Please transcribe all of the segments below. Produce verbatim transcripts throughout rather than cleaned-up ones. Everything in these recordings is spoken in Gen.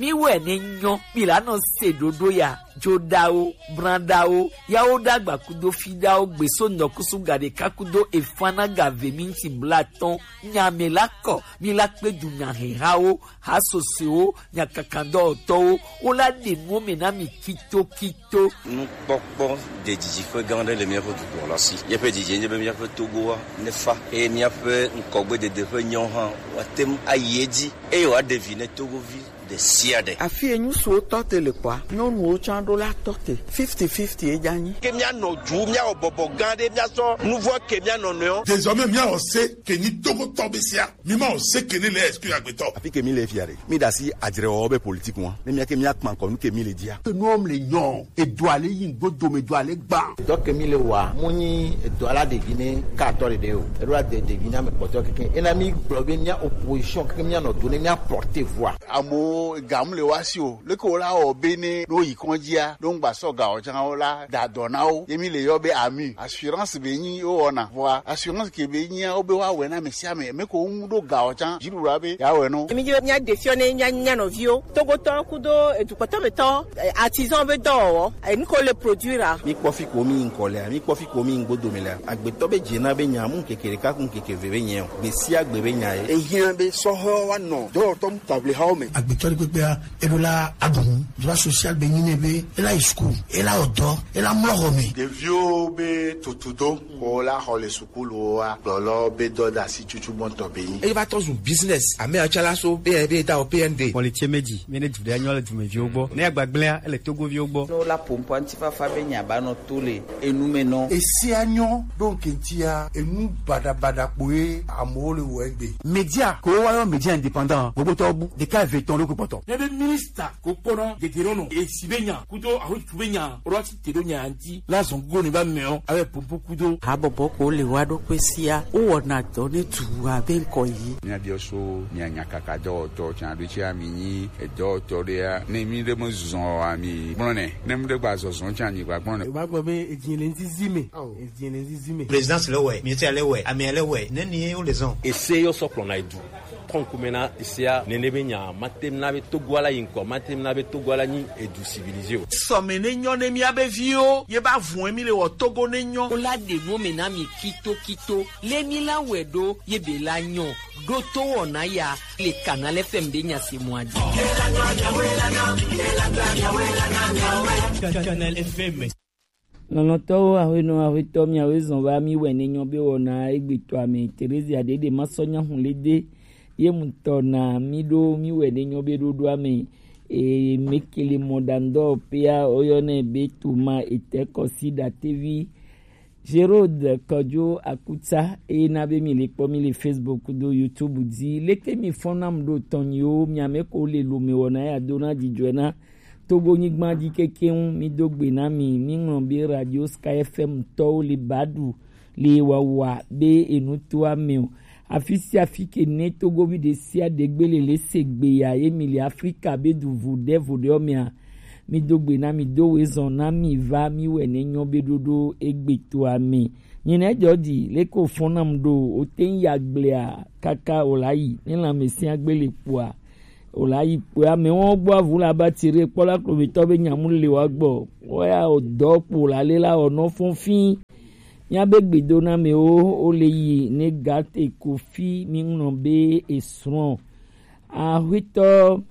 Mi wɛ ne nyɔ, mi la nɔ se ɖoɖo ya, joɖawo, branɖawo, yawo ɖagba kudo fiɖawo, gbeso nɔkusu gaɖeka kudo efanaga ve minti blatɔn, nya mɛ la kɔ, mi la kpe du nya hehawo, hasosewo, nya kakandɔwɔtɔwo, wo la ɖe nuwo mɛ na mi kitokito. Nukpɔkpɔ ɖe didiƒe gã aɖe le míaƒe dukplɔla si. Míaƒe didi nye be míaƒe Togoa nefa eye míaƒe ŋkɔgbedede ƒe nyawo hã woate ŋu ayi edzi eye wòaɖe vi ne Togovi ɖe sia ɖe. Afi yi ŋutsuwo tɔ te le kpɔa, nyɔnuwo tsã ɖo la tɔ te. Fifty fifty ye dza nyi. Ke míanɔ du, míawɔ bɔbɔ gã aɖe, míasɔ nuvɔ ke mía nɔnɔewo. Désormais, míawɔ se ke nyi Togotɔ be sia. Mi ma o se ke ne le exclu agbetɔ. Afi ke mi le fia ɖe, mi ɖe asi adzrewɔwɔ be politique ŋua. Ne mía ke mía kpa ŋkɔ nu ke mi le dzia. Ke nuwo le nyɔ, edoa le yi ŋgbo dome, edoa le gbã. Dɔ ke mi le wa, mo nyi edoa la ɖevi ne ka atɔ ɖeɖe o. Eɖo la de ɖevi na me kpɔtɔ keke. Ena mi gblɔ be mía opposition keke mía nɔ do ne mía porter voix. Amewo ga mu le wa si o. Leke wo la wɔ be ne ɖo yi kɔndzia, ɖo ŋgba sɔ ga o tsã wo la da dɔ na wo. Ye mi le yɔ be ami. Assurance be nyi wo wɔna. Vɔa assurance ke be nyia wo be wa wɛ na ame sia ame. Ame ko ŋu ɖo ga o tsã. Dziɖuɖua be ya wɛ no. Mi dzi be mía ɖe fiɔ ne mía, mía nɔviwo. Togotɔ kudo edukɔtɔ me tɔ, eh, artisan be dɔwɔwɔ. Eh, nu ko le produire. Mi kpɔ fi ko mi ŋkɔ lea, mi kpɔ fi ko mi ŋgbo dome lea. Agbetɔ be dze na be nya mu ŋkeke ɖeka ku ŋkeke ve be nyɛ o. Gbe sia gbe be nya ye. Ehiã be sɔhɔ wa nɔ dɔwɔtɔ mu table hawo me. Agbetɔ ɖe kpekpea, eɖo la aɖu nu. Droit social be nyi nɛ be, ela yi school, ela wɔ dɔ, ela mlɔ xɔ me. Ɖeviwo be tutudo, ko la xɔ le sukuluwoa, gblɔlɔ be dɔdasi tutu gbɔntɔ be nyi. Eye va tɔ zu business, ame atsalaso, be, be da o P N D. Xɔ le tse me dzi, mi ne du ɖe anyɔ le dumeviwo gbɔ. Ne agbagblẽa, ele Togoviwo gbɔ. Ne wola ƒo ŋkɔ ŋutifafa be nya ba nɔ to le enu me nɔ. Esia nyɔ ɖo ŋke ŋutia, enu baɖabaɖa kpoe amewo le wɔ egbe. Média, ko wa yɔ média indépendant, gbogbo tɔ bu, ɖeka eve tɔn ɖo kpɔtɔ. Ne be minista ko kpɔna dede ɖo nɔ, esi be nya, kudo ahotu be nya, ro ati te ɖo nya ŋuti, la zɔn go ne ba mɛ o, abe pompo kudo. Habɔbɔ ko le wa ɖo kpe sia, wo wɔna dɔ ne tu abe ŋkɔ yi. Mía biɔ so, mía nya kaka dɔwɔtɔ, tsan ɖo tsi ami nyi, edɔwɔtɔ ɖe ya, ne mi ɖe me zɔn ami, gblɔ nɛ, ne mi ɖe gba zɔzɔn tsan nyi gba gblɔ nɛ. Eba gbɔ be edzi le ŋzizi me. Edzi le ŋzizi me. Présidence le wɛ, ministère le wɛ, amea le wɛ, ne ni wo le zɔn. Ese yɔ sɔ kplɔna edu. Trɔ ŋkume na esea, nene be nya, mate ŋu na be Togo ala yi ŋkɔ, mate ŋu na be Togo ala nyi edu civilisé o. Sɔme ne nyɔ ne mía be viwo, ye ba vun mi le wɔ Togo ne nyɔ. Wo la ɖe nu me na mi kitokito, le mi la wɛ ɖo, ye be la nyɔ. Ɖo to wɔna ya, le Canal F M be nya se mɔ adi. Canal F M. Lɔlɔ̃tɔwo, aƒenɔ, aƒetɔ, miawoe zɔn va mi wɛ ne nyɔ be wɔna egbetɔa me. Teresia ɖeɖe ma sɔ nya hu le de. Ye ŋutɔ na mi ɖo mi wɛ ne nyɔ be ɖoɖoa me. E, mekele mɔ ɖandɔ pea, woyɔnɛ be Toma Etɛ Kɔsi Ɖatevi. Gerode Kɔdzo Akutsa, eye na be mi le kpɔ mi le Facebook do YouTube dzi. Leke mi fɔn nam ɖo tɔnyiwo, miame ko le lome wɔna ya do na dzidzɔe na Togo nyigba dzi kekeŋ, mi do gbe na mi, mi ŋlɔ be Radio Sky F M tɔwo le ba ɖu le wawa be enu to ame o. Afi sia afi ke ne Togovi ɖe sia ɖe gbe le le se gbe ya ye mi le Afrika be du vu ɖe vo ɖe mea, mi do gbe na mi do we zɔn na mi va mi wɛ ne nyɔ be ɖoɖo egbe to ame. Nyina edzɔ di leke o fɔn nam ɖo o te ŋ ya gblea kaka o la yi ne lãmesẽ agbe le kpoa. O la yi kpɔe, amewo gbɔ avu la ba tire kpɔ la klometɔ be nyamu le wa gbɔ. Woya o dɔ kpo la le la o nɔ fɔn fi. Mia be gbedo na amewo o le yi ne gate ko fi mi ŋlɔ be esrɔ̃. Ahuitɔ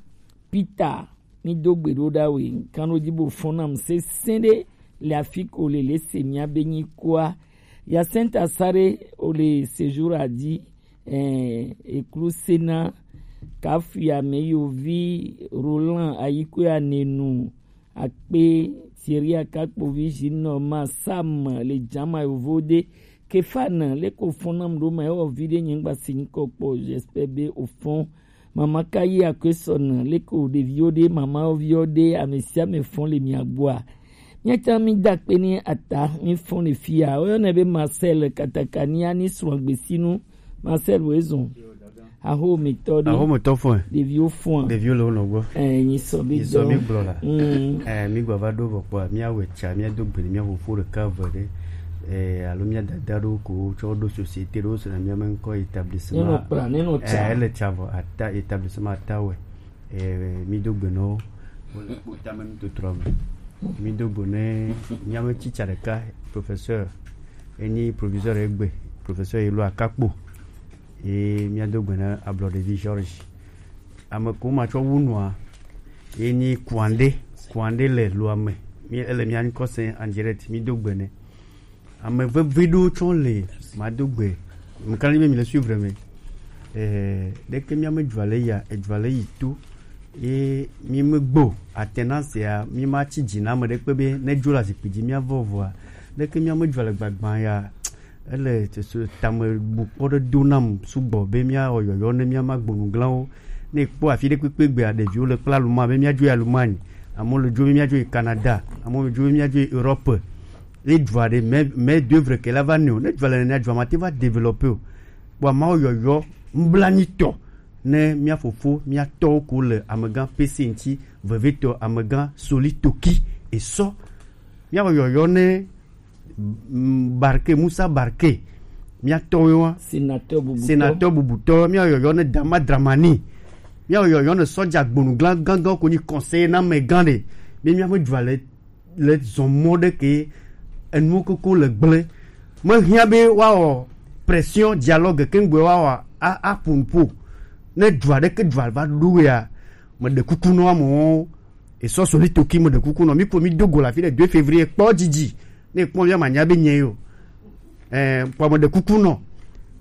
Peter, mi do gbe ɖo ɖa we, kan ɖo dzi bo fɔn nam sesẽ ɖe le afi ko le le se mia be nyi kua. Yasenta Sare o le séjour a dzi. Eh, Eklusena, Kafuya Meyovi, Roland Ayikoya Nenu, Akpe, Thierry Akakpovi, Jinoma, Sam, le Jama Yovode, Kefana, leke o fɔn nam ɖo ma, ewɔ vi ɖe nye ŋgba si ŋkɔ kpɔ, j'espère be o fɔn. Mama Kayi Akwesɔn, leke o ɖeviwo ɖe, mamawo viwo ɖe, ame sia ame fɔn le mia gbɔa. Míatsã mída akpe ni ata, mífɔn le fia. Woyɔnɛ be Marcel Katakania ni srɔ̃ gbesinu. Marcel wo ezɔn. Ahometɔ ɖe. Ahometɔ fɔe. Ɖeviwo fɔa. Ɖeviwo le wo nɔ gbɔ. Ɛ, nyi sɔ bi dɔ. Nyi sɔ bi gblɔ la. Mm. Ɛ, mi gba va ɖo vɔ kpɔa, mía wɛ tsa, mía do gbe ni mía fofo ɖeka eve ɖe. Ɛ, alo mía dada ɖo ko tsɔ ɖo société ɖo sena mía me ŋkɔ établissement. Ne nɔ kpla, ne nɔ tsa. Ɛ, ele tsa vɔ, ata, établissement ata wɛ. Eh, mi do gbe no. Wole kpo tame mi to trɔ me. Mi do gbe ne mi ame tsitsa ɖeka, professeur, eni proviseur egbe, professeur Elo Akakpo. Ye mi ado gbe ne ablɔ ɖevi George. Ame ko ma tsɔ wu nua, ye nyi Kuande, Kuande le Loame. Mi ele mia ŋkɔ se en direct, mi do gbe ne. Ame vevi ɖewo tsɔ le, ma do gbe. Mekana be mi le suivre me. Eh, ɖeke mia me dzua le ya, edzua le yi to. Ye mi me gbo, atena sia, mi ma tsi dzi na ame ɖekpe be ne dzo le azikpui dzi mia vɔ vɔa. Ɖeke mia me dzua le gbagba ya. Ele tso tame bu kpɔ ɖe do nam sugbɔ be míawɔ yɔyɔ ne mía ma gbonu glãwo. Ne kpɔ afi ɖe kpekpe gbea, ɖeviwo le kple aluma be míadzo yi Allemagne, amewo le dzo be míadzo yi Canada, amewo le dzo be míadzo yi Europe. Ye dzua ɖe, mais, mais d'œuvre ke la va ne o. Ne dzua le nenea, dzua ma te va développer o. Kpɔ amawo yɔyɔ nublanitɔ ne mía fofo, mía tɔwo ko le amegã P C ŋuti, vevetɔ amegã Soli Toki esɔ. Míawɔ yɔyɔ ne mm, Barke, Musa Barke, mía tɔwo wa. Sénateur bubutɔ. Sénateur bubutɔ, mía yɔyɔ ne Dama Dramani. Mía yɔyɔ ne sɔdza gbonu glan gangan ko nyi conseiller na mɛ gan de. Be mía me dzua le, le zɔn mɔ ɖe ke enu koko le gblẽ. Me hiã be wa wɔ pression, dialogue ke ŋgbe wa wɔ a, a ƒo nu ƒo. Ne dzua ɖe ke dzua va ɖo ya, me ɖe kuku nɔ amewo. Esɔ Soli Toki, me ɖe kuku nɔ. Mi ko mi do go le afi ɖe deux février, kpɔ dzidzi. Ne kpɔ mía manya be nye yo. Eh, kpɔ me ɖe kuku nɔ.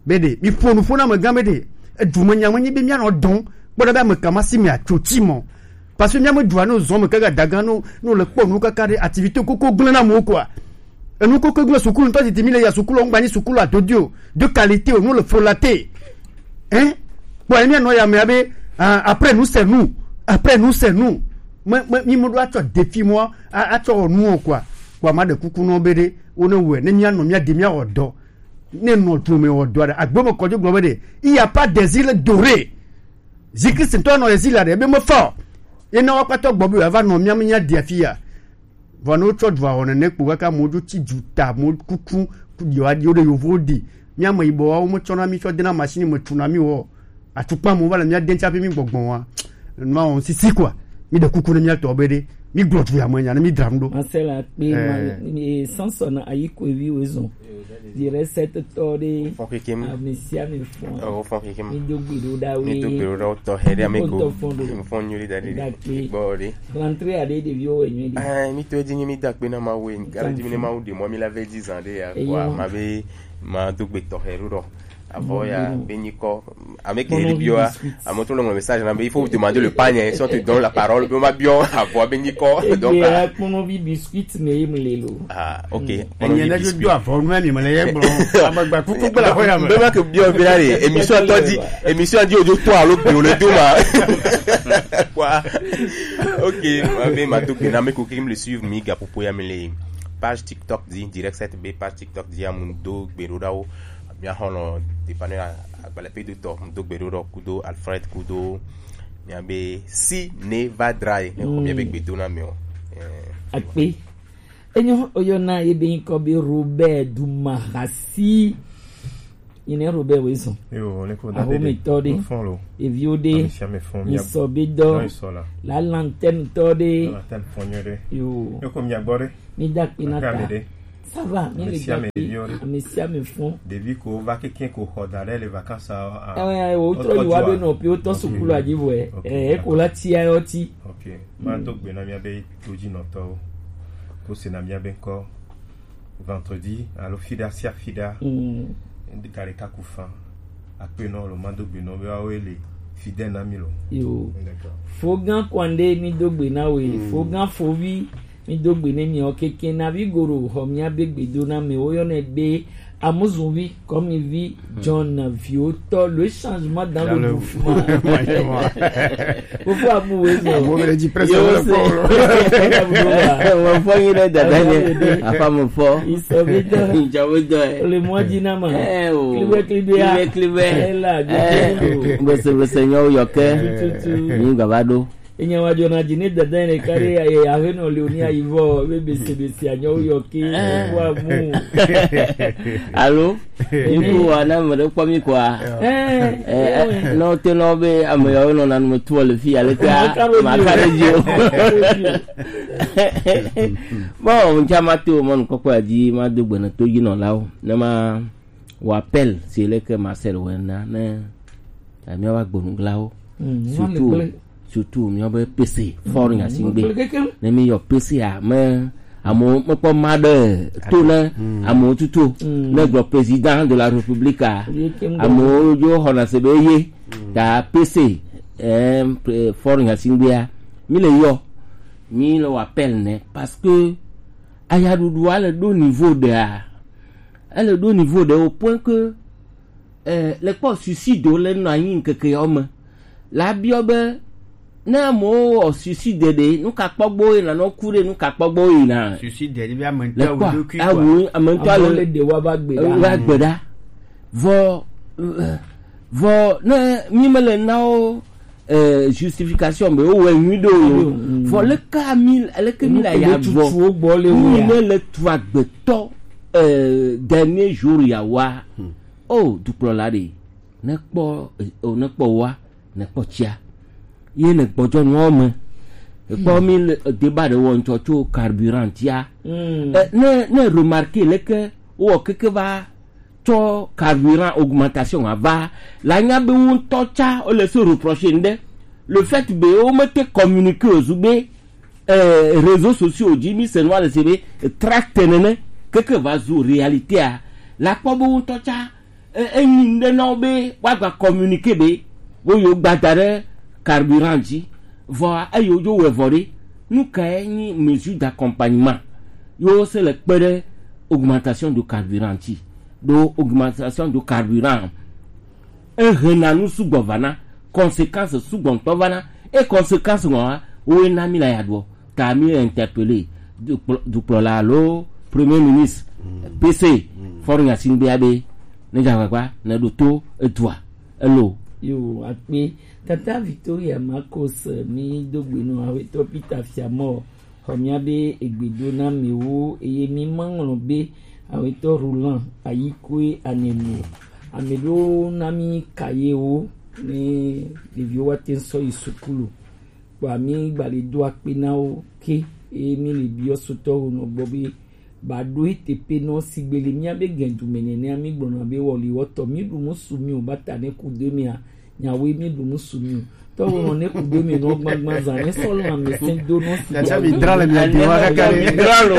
Be ɖe, mi ƒo nu ƒo na amegã be ɖe, edu me nya me nyi be mía nɔ dɔn. Kpɔ ɖa be ame ka ma si me atso tsi mɔ. Parce que mía me dua no zɔn me kaka dagan no, no le kpɔ nu kaka ɖe activité koko gblẽ na mo quoi. Enu koko gblẽ sukulu ŋutɔ titi mi le ya sukulu ŋgba nyi sukulu adodi o. De qualité o, no le frolate. Hein? Kpɔ ye mía nɔ ya me abe, ah, après nous c'est nous. Après nous c'est nous. Me, me, mi me ɖo atsɔ défi mɔ, a, atsɔ wɔ nu o quoi. Kpɔ ma ɖe kuku nɔ be ɖe, wo ne wɛ, ne mía nɔ mía de mía wɔ dɔ. Ne nɔ tu me wɔ dɔ ɖe. Agbe me kɔdzi gblɔ be ɖe, il y a pas des îles dorées. Jésus-Christ ŋutɔ nɔ exil la ɖe, ebe me fɔ. Ye na wa kpatɔ gbɔ be wa va nɔ mía me mía de afi ya. Vɔ ne wotsɔ dua wɔ nene kpo kaka mo dzo tsi dzu ta mo kuku ku ɖi wa ɖi wo ɖe yovo ɖi. Mía me yibɔ wa wo me tsɔna mi tsɔ dena machine me tsuna mi wɔ. Atukpa mo va le mía de ŋtsi hafi mi gbɔgbɔ wa. Nua wɔm sisi quoi. Mi ɖe kuku ne mía tɔ be ɖe. Mi gblɔ tu ya me nya ne mi dram ɖo. Marcel Akpe, eh, ma, eh, Samson ayi ko evi wo zɔn. Di recette tɔ ɖe. Fɔn kekem. Ame sia ame fɔn. Oh, fɔn kekem. Mi do gbe ɖo ɖa we. Mi do gbe ɖo ɖa wo tɔ he ɖe ame ko. Fɔn do. Fɔn nyui da ɖe. Dakpe. Gbɔ ɖe. Rentrée aɖe ɖeviwo wɔ nyuie ɖe. Eh, mi to edzi nyi mi da akpe na Mawu, e, gale dzi mi ne Mawu ɖe mɔ mi la ve dzi zã ɖe ya. Eyo. Kpɔa, ma be, ma do gbe tɔxɛ ɖo ɖɔ. Avɔ ya, be nyikɔ, ame ke ɖi biɔ, ame to le ŋlɔ message na be, il faut vous demander le panier, si on te donne la parole, be ma biɔ, avɔ be nyikɔ, donc, ah. Kpɔnɔvi biscuit me ye mu le lo. Ah, ok. Enye ne do avɔ nu mi me le ye gblɔ. Amagba kuku gblɔ ko ya me. Be ma ke biɔ be la re, émission tɔ di, émission di ojo to alo gbe o le do ma. Quoi? Ok, ma be ma to ke na me ko ke me le suivre mi ga popo ya me le page TikTok di, direct set be page TikTok di amu do gbe ɖo ɖa wo. Mía xɔlɔ depane agbalẽ pe do tɔ do gbe ɖo ɖɔ kudo Alfred kudo mía be si ne va dra ye ne xɔ mía be gbe do na me o. Eh. Akpe. Enyo oyɔna ye be ŋkɔ be Robert Dumahasi. Yi ne Robert we zɔn. Yo, ne ko da de. Ahometɔ de. Fɔn lo. Eviwo de. Ame sia ame fɔn. Misɔ be dɔ. Dɔ isɔ la. La lantɛn tɔ de. La lantɛn fɔn nyuie de. Yo. Ne ko mia gbɔ de. Mi da akpe na ta. Ça va, mi le da akpe. Ame sia ame fɔn. Ɖevi ko va keke ko xɔ da ɖe le vacances a. Eh, wo trɔ yi wa be nɔ pi wo tɔ sukulu a dzi vɔ. Ok. Eh, ko la tia yo ti. Ok. Ma do gbe na mia be to dzi nɔtɔwo. Ko se na mia be ŋkɔ vendredi alo fiɖa sia fiɖa. Mm. Ŋdi ka ɖeka ku fan. Akpe nɔ lo ma do gbe nɔ be wa wo le fidèle na mi lo. Yo. D'accord. Fo gan kwande mi do gbe na we. Mm. Fo gan fovi. Mi do gbe ne mi o keke na vi goro xɔ mia be gbe do na mi wo yɔ ne be amuzunvi kɔmivi John viwo tɔ le changement dans le mouvement. Fofo abu we zo. Mo be di presque le fo. Mo fo yi le dada ne. Afa mo fo. Iso be do. Ijo be do. Le mo di na ma. Eh o. Klibe klibe. Klibe klibe. Ela. Bese bese nyo yo ke. Ni gaba do. Enya wa jɔna dzi ne dada ne ka ɖe aye aƒenɔ le oni ayi vɔ be bese bese anyɔ yɔ ke wa mu. Alo, iku wa na me ɖe kpɔ mi kɔa. Eh, eh, no te no be ame yawo nɔ nanu me tuɔ le fi ale ke ma ka ɖe dzi o. Bon, ŋutsa ma to mɔnukpɔkpɔa dzi ma do gbe ne to dzi nɔlawo ne ma wɔ appel si le ke Marcel wɔ na ne ta míawo agbonuglawo, surtout surtout míawo be P C Fort Gnassingbé. Ne mi yɔ P C a me amewo mekpɔ ma ɖe to ne amewo tuto ne gblɔ président de la République a amewo dzo xɔna se be ye ta P C eh, Fort Gnassingbé a mi le yɔ mi le wɔ appel ne parce que ayaɖuɖua le ɖo niveau ɖea ele ɖo niveau ɖe au point que eh, le kpɔ suicide le nɔ anyi ŋkeke yawo me la biɔ be ne amewo wɔ suicide ɖe nu ka kpɔgbɔ yina nɔ ku ɖe nu ka kpɔgbɔ yina suicide ɖe bi ame le ŋutɔ kpɔ wo ɖokui awu kɔ ame ŋutɔ Amewo le le ɖe wa va gbe ɖa. wa gbe ɖa vɔ eh, vɔ ne mi me le nawo eh, justification be wo wɔ nyui ɖo yo vɔ le ka mi le ke mi la ya vɔ Tutuwo gbɔ le mi wo. ne le tu agbetɔ eh, dernier jour ya wa o dukplɔla ɖe ne kpɔ eh, o ne kpɔ wa ne kpɔ tsia ye ne gbɔdzɔ nua me ekpɔ mi le eh, débat ɖe wɔ ŋtsɔ tso carburant tsia eh, ne ne remarquer le ke wɔ keke va tsɔ carburant augmentation ava la nya be wo ŋutɔ tsa wole se reprocher ŋɖe le fait be wo mete communiquer o zu be eh, réseaux sociaux dzi mi se nua le se be eh, tract nene keke va zu réalité a la kpɔ be wo ŋutɔ tsa eh, enyi ŋɖe na wo be woagba communiquer be wo yo gba da ɖe carburant dzi vɔa eyi wodzo wɔe vɔ ɖe nu kae nyi mesure d'accompagnement yewo se le kpe ɖe augmentation de carburant ŋuti ɖo augmentation de carburant ehena nu sugbɔ vana conséquence sugbɔ ŋutɔ vana e conséquence ŋɔa woe na mi la ya ɖuɔ ta mi interpeller dukplɔ- dukplɔla alo premier ministre P C Fort Gnassingbé be ne dza agbagba ne ɖo to edua elo. Yo akpe tata Victoria Marcos mi do gbe nɔ awetɔ Peter Fiamɔ xɔ mia be egbe do na mi wo eye mi ma ŋlɔ be awetɔ Roland ayi koe anenu ame ɖo na mi ka ye wo ne ɖeviwo wa te sɔ yi sukulu kpɔa mi gba le do akpe na wo ke eye mi le biɔ sotɔ wo nɔ gbɔ be ba ɖo ete pe nɔ sigbe le mia be gɛndu me nɛnɛ mi gblɔna be wɔli wɔtɔ mi ɖu musu mi o ba ta ne ku do mi a nyawoe mi ɖu musu mi o tɔwo nɔ ne ku do mi nɔ gbagba zan ne sɔ lɔ ame sɛn do nɔ si Tata mi dra le mia di wa kaka le. Dralo.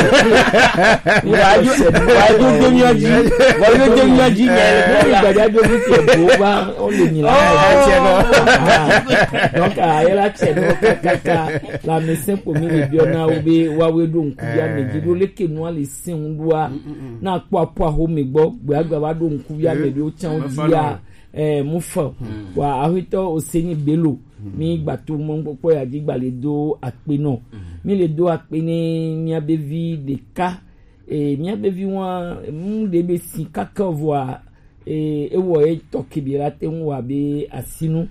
Wa yo wa yo de mi aji. Wa yo de mi aji ne le ko ya. Gbadza do mi ke bo ba o le mi la. Donc a yela tsɛ nɔ kakaka la ame sɛn ko mi le biɔ na wo be wa we ɖo ŋku ya me dzi ɖo leke nua le sɛn ŋu ɖoa na kpɔ aƒo aho me gbɔ gbe agba va ɖo ŋku ya me ɖo tsan dzia eh mu fa wa ahwetɔ oseni belo mi gbato mɔ kpɔkpɔ ya dzi gba le do akpe nɔ mi le do akpe ne mia be vi ɖeka eh mia be vi wa mu ɖe be si kaka vɔa eh ewɔ etɔ kebe la te ŋu wa be asinu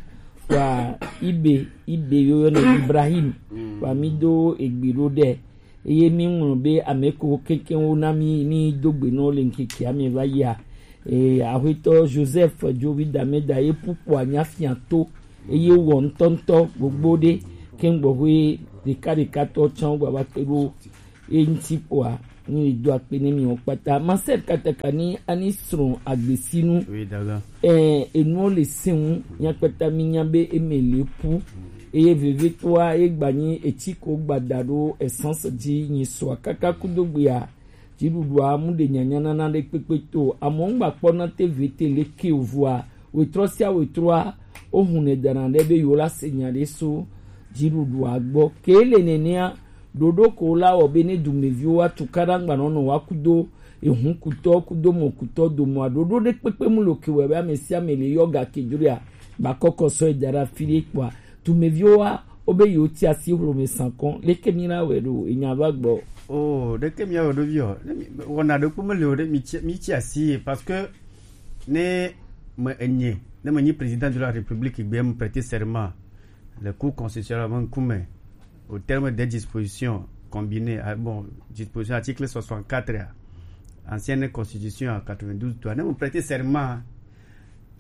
wa ibe ibe yoyo ne Ibrahim wa mi do egbe ɖo ɖe eye mi ŋlɔ be ame ko kekewo na mi ni do gbe nɔ le ŋkeke ame va yia eh ahwetɔ Joseph Jovi Dameda ye pukpɔ anya fia to eye wɔ ŋutɔŋutɔ gbogbo ɖe ke ŋgbɔƒe ɖekaɖekatɔ tsã wo gbava kpe ɖo ye ŋuti kpɔa ni le do akpe ne mi wo kpata Marcel Katakani ani srɔ̃ agbesinu Oui, d'accord. eh enuwo le se ŋu mia kpata mi nya be eme le pu eye vevitɔa ye gba nyi etsi ko gbada ɖo essence dzi nyi sɔa kaka kudo gbea dziɖuɖua mu ɖe nyanya nana ɖe kpekpe to amewo ŋgba kpɔna te vete le ke o vɔa wetrɔ sia wetrɔa wohun ne dana ɖe be yewo la se nya ɖe so dziɖuɖua gbɔ ke le nenea ɖoɖo ko la wɔ be ne dumeviwo wa tukaɖa ŋgba nɔnɔ wa kudo ehun kutɔ kudo mɔ kutɔ domɔa ɖoɖo ɖe kpekpe mu lo ke wɔ be ame sia ame le yɔ ga ke dzroa gba kɔkɔ sɔ eda ɖe afi ɖe kpɔa dumeviwo wa wobe yewo ti asi hlome sankɔn leke mi la wɛ ɖo enya va gbɔ. Oh, ɖeke mi awɔ ɖo viɔ. Ne mi wɔna ɖe kpɔ mele o ɖe mi tsi mi tsi asi ye parce que ne me enye ne me nyi président de la république gbe me prêter serment Le Cour constitutionnelle ƒe ŋkume, au terme des dispositions combinées, ah, bon, disposition article soixante-quatre ya, ancienne constitution ya quatre-vingt-douze doit, ne mo prêter serment,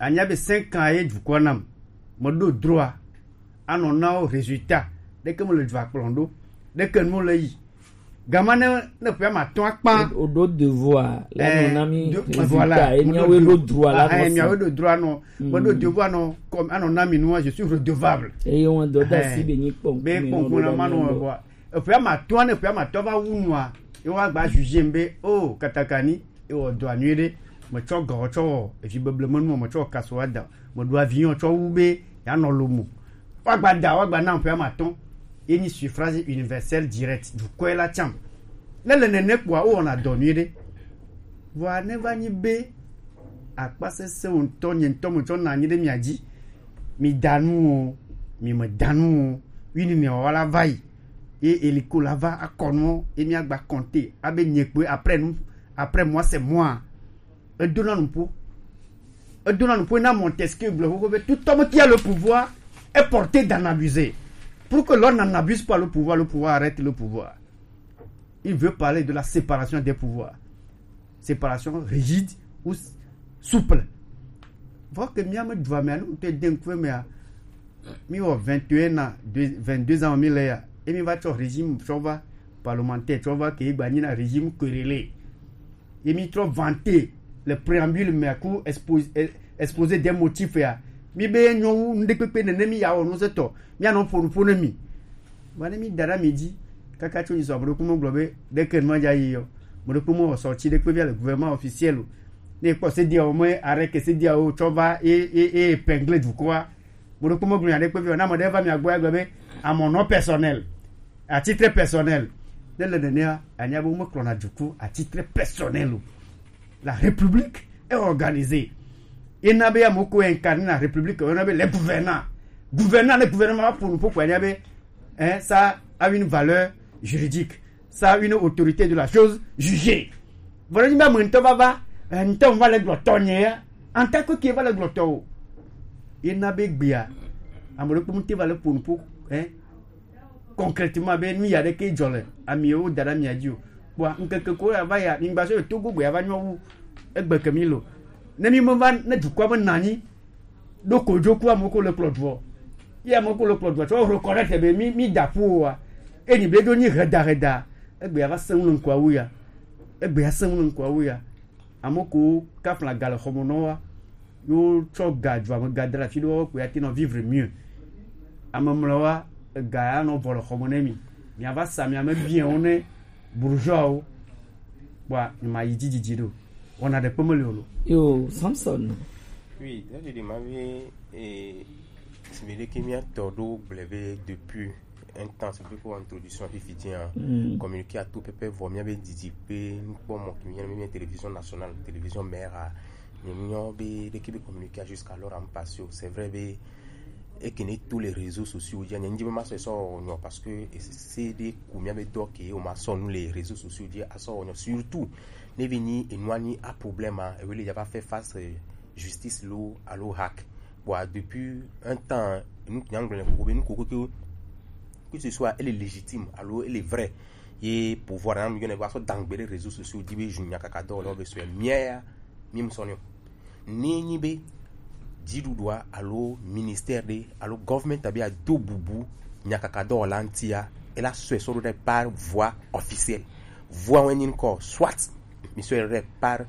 anya be cinq ans ye dukɔ nam, meɖo droit anɔ na wo résultat, ɖeke mele dua kplɔm ɖo, ɖeke nu le yi. Gama ne ne ƒe ma tɔn akpa. O do devoir la, eh, no na mi de- résultat, voilà, et mo miawo do do- droit la, ah, eh, miawo do droit no. Mo do devoir no, comme anɔ na mi nua, je suis redevable. Eye wọn dɔ da si be nyi kpɔn. Be kpɔn na ma no wa. Eƒe ma tɔn ne ƒe ma tɔ va wu nua, e wa gba juger be, oh, katakani, e wɔ dɔ anui ɖe. Me tsɔ gɔ tsɔ wɔ evi beble me nua, me tsɔ kaso wa da. Me do avion tsɔ wu be ya nɔ lomo. Wa gba da, wa gba na ƒe ma tɔn. Ye nyi suffrage universel direct, dukɔe la tsam. Ne le nene kpoa, wowɔna dɔ nyuie ɖe. Vɔa ne va nyi be akpa sesẽ ŋutɔ, nye ŋutɔ metsɔ na anyi ɖe mia dzi. Mi da nu o, mi me da nu o. Wi ni ne wa la va yi. Ye eliko la va akɔ nu, ye mi agba compter. Abe nye kpoe après nous, après moi c'est moi. Edona nuƒo. Edona nuƒo na Montesquieu gblɔ xoxo be tout homme qui a le pouvoir est porté d'en abuser. Pour que l'on n'en abuse pas le pouvoir, le pouvoir arrête le pouvoir. Il veut parler de la séparation des pouvoirs. Séparation rigide ou s- souple. Vɔ ke mía me dua mea, ne ŋutɔ de ŋkue mea, mi wɔ vingt et un ans, deux- vingt-deux ans mi le ya, et mi va tsɔ régime tsɔ va parlementaire tsɔ va ke gba nyi na régime querellé. Ye mi trɔ vanter le préambule mea ku expo- eh, exposé des motifs ya. Mi be nyɔnu ŋɖekpekpe nene mi ya wɔ nu se tɔ. Mi anɔ ƒo nu ƒo ne mi. Vɔ ne mi da ɖe mi dzi kaka tso nyi sɔ, ame ɖokui me gblɔ be ɖeke nu ma dza yi yɔ. Ame ɖokui me wɔ sortie ɖekpe via le gouvernement officiel o. Ne kpɔ sedia o me arrêté sedia o tsɔ va e e e épinglé dukɔa. Ame ɖokui me gblɔ nya ɖekpe via o. Ne ame ɖe va mia gbɔ ya gblɔ be à mon nom personnel, à titre personnel. Ne le nenea, anya be womekplɔna duku à titre personnel o. La République est organisée. Ena be amewo ko incarne la République, ena be les gouvernants. Gouvernants, les gouvernements va ƒo nu ƒo ko anya be, hein, ça a une valeur juridique. Ça a une autorité de la chose jugée. Voilà, ni be ame ŋutɔ va va, eh, ŋutɔ va le gblɔ tɔ nye ya. En tant que qui va le gblɔ tɔ o. Ena be gbea, ame ɖokpe ŋuti va le ƒo nu ƒo, hein, concrètement be nu ya ɖeke dzɔ le amiwo da ɖe amia dzi o. Kpɔa ŋkeke ko ya va ya, mi gba sɔ Togo gbe ya va nyɔ wu egbe ke mi lo. Ne mi me va ne dukɔa me na anyi ɖo ko dzoku ame ko le kplɔ dua. Ye ame ko le kplɔ dua tsɔ reconnaître be mi mi da ƒu wa. Eni be ɖo nyi heda heda. Egbe ya va sẽŋu le ŋkua wu ya. Egbe ya sẽŋu le ŋkua wu ya. Ame ko kafla ga le xɔme nɔ wa. Yo tsɔ ga dzo ame ga da ɖe afi ɖe wo ko ya te nɔ vivre mieux. Ame mlɔ wa ega ya nɔ vɔ le xɔme ne mi. Mi ava sa mi ame bien wo ne bourgeois wo. Kpɔa mi ma yi dzi dzidzi ɖo. Wɔna ɖe kpe meli o lo. Yo, Samson. Oui, là je demande, eh, si vous voulez que mi atɔ ɖo gblẽ be depuis un temps, c'est depuis introduction fifi dzi, hein. Mm. Communiqué a tout pépé vɔ, mi be didi pe nukpɔmɔ ki mi yɔna be télévision nationale, télévision mère a, mi nyɔ be ɖeke be communiqué a jusqu'à l'heure en passé. C'est vrai be eke ne tous les réseaux sociaux dzi, nye ndzi be ma sɔ sɔ nyɔ parce que c'est des ku mi be dɔ ke o ma sɔ nu les réseaux sociaux dzi a sɔ nyɔ surtout ne vi ni enua ni a problème a, e wele ya va faire face, euh, justice lo alo hack. Bon, depuis un temps, nous, nous, nous, nous, nous, que ce soit, elle est légitime, alors elle est vraie. Ye pouvoir na mi yɔna be va sɔ dangbe ɖe réseaux sociaux dzi be zu nyakaka dɔ le be sɔ mia ya mi mu sɔ ne o. Ne nyi be dziɖuɖua alo ministère ɖe alo government be ado bubu nyakaka dɔwɔla ŋutia, ela sɔe sɔ ɖo ɖe par voie officielle. Voie wɛ nyi ŋkɔ, soit mi sɔe ɖo ɖe par